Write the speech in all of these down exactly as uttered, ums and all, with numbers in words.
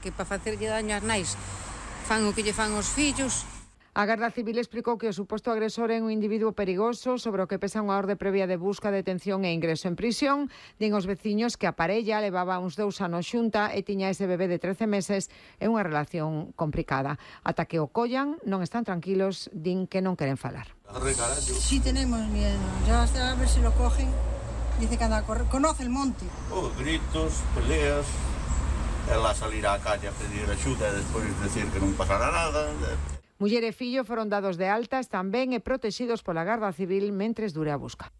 Que para facerlle daño ás nais fan o que lle fan os fillos. A Garda Civil explicou que o suposto agresor é un individuo perigoso sobre o que pesa unha orde previa de busca, detención e ingreso en prisión. Din os veciños que a parella levaba uns dous anos xunta e tiña ese bebé de trece meses e unha relación complicada. Ata que o collan, non están tranquilos, din que non queren falar. Sí tenemos miedo, ya hasta a ver si lo cogen. Dice que anda a correr, conoce el monte. Oh, gritos, peleas, ela salir á calle a pedir axuda e despois decir que non pasará nada. Muller e fillo foron dados de altas tamén e protegidos pola Garda Civil mentres dure a busca.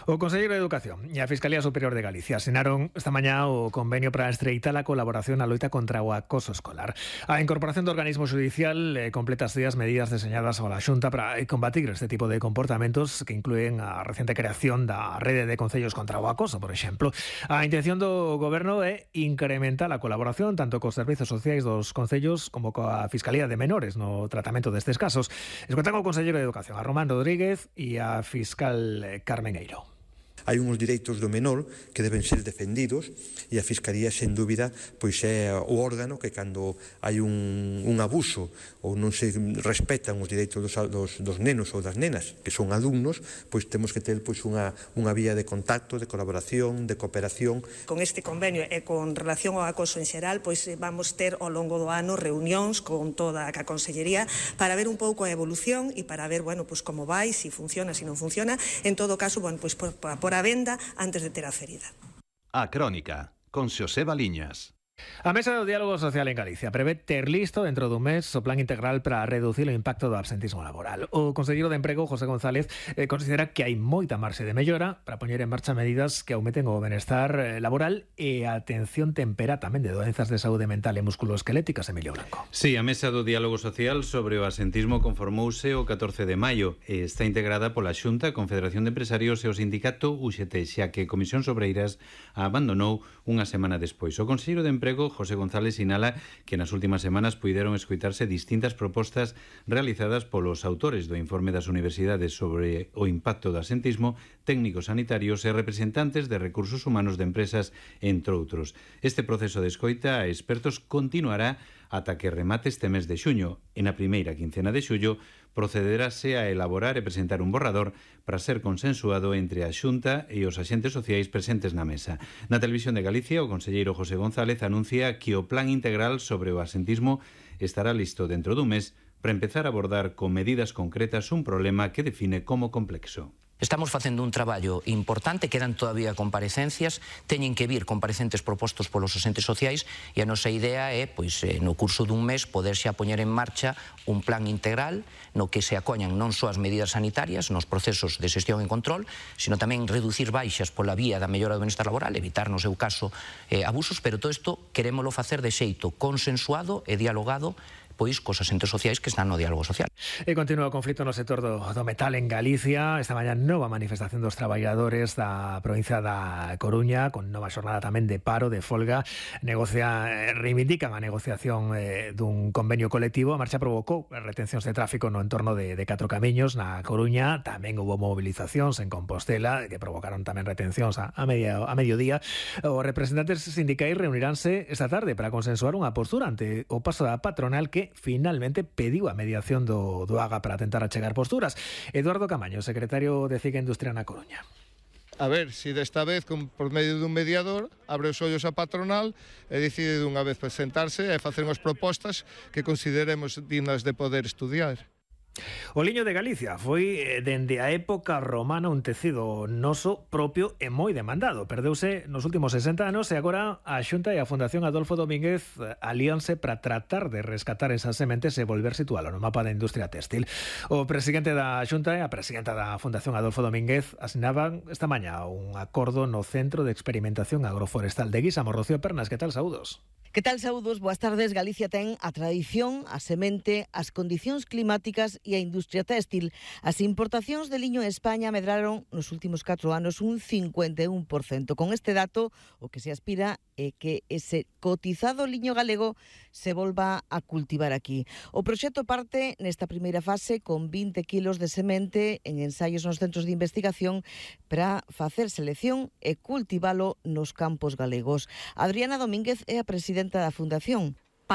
O Conselleiro de Educación e a Fiscalía Superior de Galicia asinaron esta mañá o convenio para estreitar a colaboración na loita contra o acoso escolar. A incorporación do organismo judicial eh, completa as medidas deseñadas pola Xunta para combatir este tipo de comportamentos que incluen a reciente creación da rede de concellos contra o acoso, por exemplo. A intención do Goberno é incrementar a colaboración tanto cos servizos sociais dos concellos como coa Fiscalía de Menores no tratamento destes casos. Escoitan o Conselleiro de Educación, a Román Rodríguez, e a fiscal Carmen Eiro. Hai uns direitos do menor que deben ser defendidos e a Fiscalía, sen dúbida, pois é o órgano que cando hai un, un abuso ou non se respetan os direitos dos, dos, dos nenos ou das nenas, que son alumnos, pois temos que ter pois unha, unha vía de contacto, de colaboración, de cooperación. Con este convenio e con relación ao acoso en xeral, pois vamos ter ao longo do ano reunións con toda a Consellería para ver un pouco a evolución e para ver, bueno, pois como vai, se funciona, se non funciona. En todo caso, bueno, pois por, por a venda antes de ter a ferida. A Crónica, con Xosé Baliñas. A Mesa do Diálogo Social en Galicia prevé ter listo dentro dun mes o plan integral para reducir o impacto do absentismo laboral. O conselleiro de Emprego, José González, eh, considera que hai moita marxe de mellora para poñer en marcha medidas que aumenten o benestar eh, laboral e a atención tempera tamén de doenzas de saúde mental e musculoesqueléticas. Emilio Blanco. Sí, a Mesa do Diálogo Social sobre o absentismo conformouse o catorce de maio e está integrada pola Xunta, Confederación de Empresarios e o sindicato U X T, xa que Comisións Obreiras a abandonou unha semana despois. O conselleiro de Emprego José González sinala que nas últimas semanas puideron escoitarse distintas propostas realizadas polos autores do informe das universidades sobre o impacto do absentismo, técnicos sanitarios e representantes de recursos humanos de empresas, entre outros. Este proceso de escoita a expertos continuará ata que remate este mes de xuño. E na primeira quincena de xullo procederase a elaborar e presentar un borrador para ser consensuado entre a Xunta e os axentes sociais presentes na mesa. Na Televisión de Galicia, o conselleiro José González anuncia que o plan integral sobre o absentismo estará listo dentro dun mes para empezar a abordar con medidas concretas un problema que define como complexo. Estamos facendo un traballo importante, quedan todavía comparecencias, teñen que vir comparecentes propostos polos asentes sociais e a nosa idea é, pois, no curso dun mes, poder xa poñer en marcha un plan integral no que se acoñan non só as medidas sanitarias nos procesos de xestión e control, sino tamén reducir baixas pola vía da mellora do benestar laboral, evitar, no seu caso, eh, abusos, pero todo isto querémolo facer de xeito consensuado e dialogado pois cos asentes sociais que están no diálogo social. E continúa o conflito no sector do, do metal en Galicia. Esta mañá nova manifestación dos traballadores da provincia da Coruña, con nova xornada tamén de paro, de folga. Negocia, reivindican a negociación eh, dun convenio colectivo. A marcha provocou retencións de tráfico no entorno de, de Catro Camiños, na Coruña. Tamén hubo movilizacións en Compostela, que provocaron tamén retencións a, a, media, a mediodía. Os representantes sindicais reuniránse esta tarde para consensuar unha postura ante o paso da patronal que finalmente pediu a mediación do, do A G A para tentar achegar posturas. Eduardo Camaño, secretario de Ciga Industria na Coruña. A ver se si desta vez, con, por medio dun mediador, abre os ollos a patronal e decide dunha vez presentarse e facer unhas propostas que consideremos dignas de poder estudiar. O liño de Galicia foi, dende a época romana, un tecido noso propio e moi demandado. Perdeuse nos últimos sesenta anos e agora a Xunta e a Fundación Adolfo Domínguez alíanse para tratar de rescatar esas sementes e volver situalo no mapa da industria téxtil. O presidente da Xunta e a presidenta da Fundación Adolfo Domínguez asinaban esta mañá un acordo no Centro de Experimentación Agroforestal de Guísamo. Rocío Pernas, que tal, saúdos? Que tal, saúdos? Boas tardes. Galicia ten a tradición, a semente, as condicións climáticas e a industria téxtil. As importacións de liño en España medraron nos últimos catro anos un cincuenta e un por cento. Con este dato, o que se aspira é que ese cotizado liño galego se volva a cultivar aquí. O proxecto parte nesta primeira fase con vinte kilos de semente en ensaios nos centros de investigación para facer selección e cultivalo nos campos galegos. Adriana Domínguez é a presidenta da Fundación.